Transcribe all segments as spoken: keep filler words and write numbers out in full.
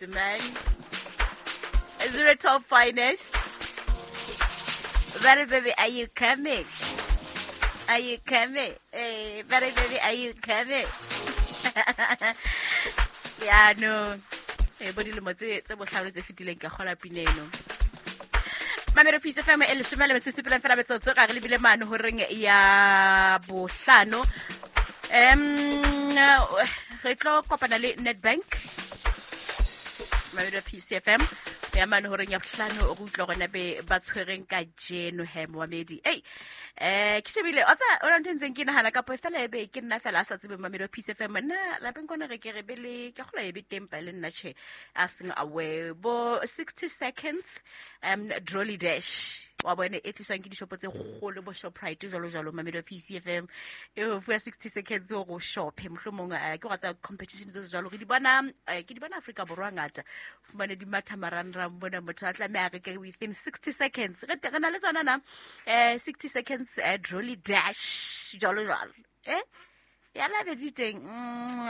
It's man. Zero top finest. Very baby, are you coming? Are you coming? Hey, very baby, are you coming? Yeah, no. Eh, bo dilemo tse tse bohlano tse fetileng ka kgola pina eno. Mamelo Peace F M e leshome le metso e supileng fela metsotso ga re lebile mane horeng ya bohlano. Em re tlo kopana le Nedbank. Mamelo Peace F M ya mane horeng ya bohlano o re utlwa hore na be ba tshwereng ka jeno he moamedi. Ei eh ke shebile o tsa o ntse ntseng ke nahana kapo fela ebe ke nna fela a sa tsebe Mamelo Peace F M nna lapeng kona re ke re be le ke kgola ebe teng pa le nna tjhe a seng aware bo sixty seconds um trolley dash wa bone e tliswang ke dishopo tse kgolo bo Shoprite jwalo jwalo Mamelo P C F M e o fuwa sixty seconds o go shope mohlomong ke go tsa competition tse jwalo re di bona ke di bona Afrika Borwa ngata fumane di matha marangrang bona motho a tlameha re ke within sixty seconds re re na le tsona na eh sixty seconds trolley dash jwalo jwalo eh ya la be di teng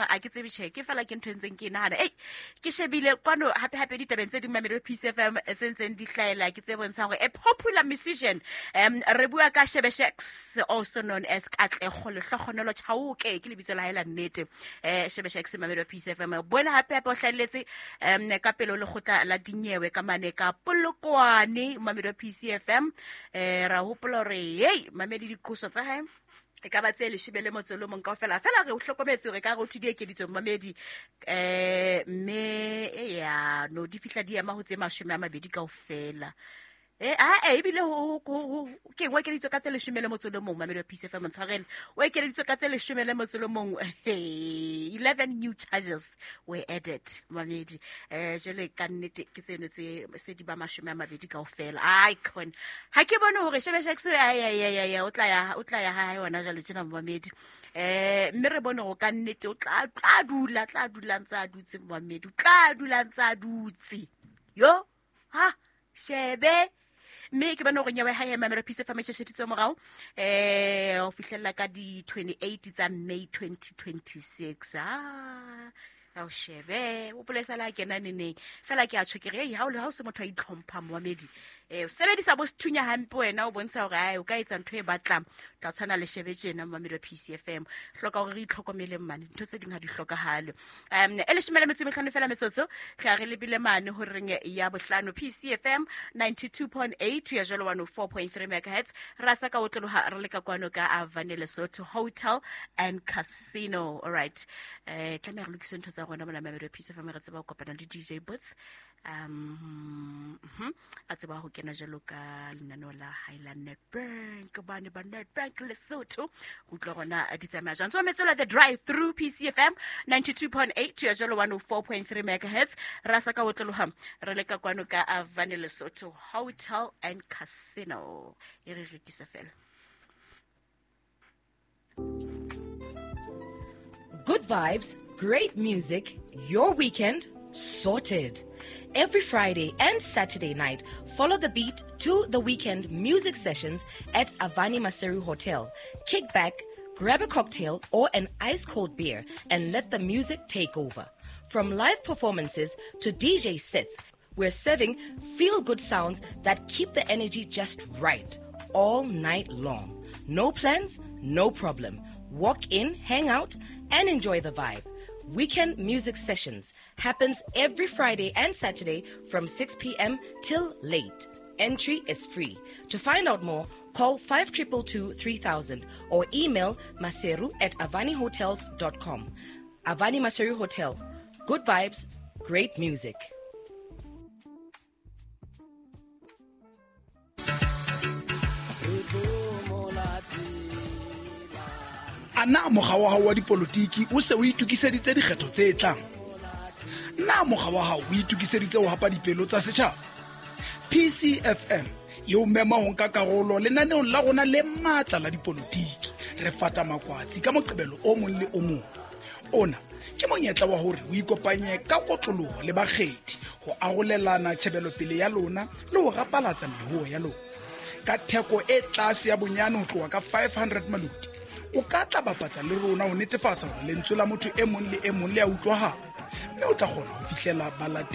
a ke tsebe tjhe ke fela ke ntho ntseng ke nahana ei ke shebile kwano hape hape ditabeng tse ding Mamelo Peace F M tse ntseng di hlaela ke tse bontshang hore a popular musician um re bua ka Shebeshxt also known as Katlego Lehlohonolo Chauke ke lebitso la hae la nnete eh Shebeshxt Mamelo Peace F M bona hape hape o hlahelletse um ka pele le kgotla la dinyewe ka mane ka Polokwane Mamelo Peace F M eh ra hopola hore hey mamedi diqoso tsa hae e ka ba tse leshome le motso le mong kaofela fela re o hlokometse hore ka re o thudi ekeditswe mamedi eh mme ya no di fihla di ema ho tse mashome a mabedi kaofela eh a e bile ho ke ngwe ekeditswe ka tse leshome le motso le mong Mamelo Peace F M ntshwarele o ekeditswe ka tse leshome le motso le mong eleven new charges were added mamedi eh jwale ka nnete ke tseno tse se di ba mashome a mabedi kaofela icon ha ke bone hore Shebeshxt ay ay ay o tla ya o tla ya ha yona jwale tjena mamedi eh mme re bone go ka nnete o tla tla dula tla dula ntse a dutse mamedi o tla dula ntse a dutse yo ha shebe mme ke bana hore nyewe ha ya Mamelo Peace F M tjhesheditse morao eh o fihlella ka di twenty-eight tsa May twenty twenty-six ah a o shebe o polesa la kena neneng fela ke a tjho ke re ei ha o le ha o se motho a itlhompha moamedi eh o sebedisa bo sethunya hampe wena o bontsha hore ai o ka etsa ntho e batlang tla tshwana le shebe tjena Mamelo P C F M hloka hore re itlhokomeleng mane ntho tse ding ha di hlokahale um e leshome le metso e mehlano fela metsotso re a re lebile mane horeng ya bohlano P C F M ninety-two point eight ya jalo one oh four point three megahertz ra sa ka otloloha re le ka kwano ka Avane Lesotho Hotel and Casino. All right eh tlameha re lokise ntho tsa rona mona Mamelo P C F M re tseba ho kopana le D J Boots um a tseba ho kena jalo ka lenaneo la Highland Nedbank bane ba Nedbank Lesotho utlwa rona di tsamaya jang. So metsola the drive through P C F M ninety-two point eight ya jalo one oh four point three megahertz ra sa ka otloloha re le ka kwano ka Avane Lesotho Hotel and Casino e re rekisa fela. Good vibes, great music, your weekend sorted. Every Friday and Saturday night, follow the beat to the weekend music sessions at Avani Maseru Hotel. Kick back, grab a cocktail or an ice cold beer and let the music take over. From live performances to D J sets, we're serving feel-good sounds that keep the energy just right all night long. No plans, no problem. Walk in, hang out, and enjoy the vibe. Weekend music sessions happens every Friday and Saturday from six p.m. till late. Entry is free. To find out more, call five two two two three thousand or email maseru at avani hotels dot com. Avani Maseru Hotel. Good vibes, great music. Ana mokga wa hao wa dipolotiki o se o itokiseditse dikgetho tse tlang? Na mokga wa hao o itokiseditse ho hapa dipelo tsa setjhaba? P C F M e o mema ho nka karolo lenaneong la rona le matla la dipolotiki. Re fata makwatsi ka Moqebelo o mong le o mong. Ona ke monyetla wa hore o ikopanye ka kotloloho le bakgethi ho arolelana tjhebelopele ya lona le ho rapalatsa mehoo ya lona. Ka theko e tlase ya bonyane ho tloha ka five hundred maloti, o ka tla bapatsa le rona ho netefatsa hore lentswe la motho e mong le e mong le a utlwahala, mme o tla kgona ho fihlela balatedi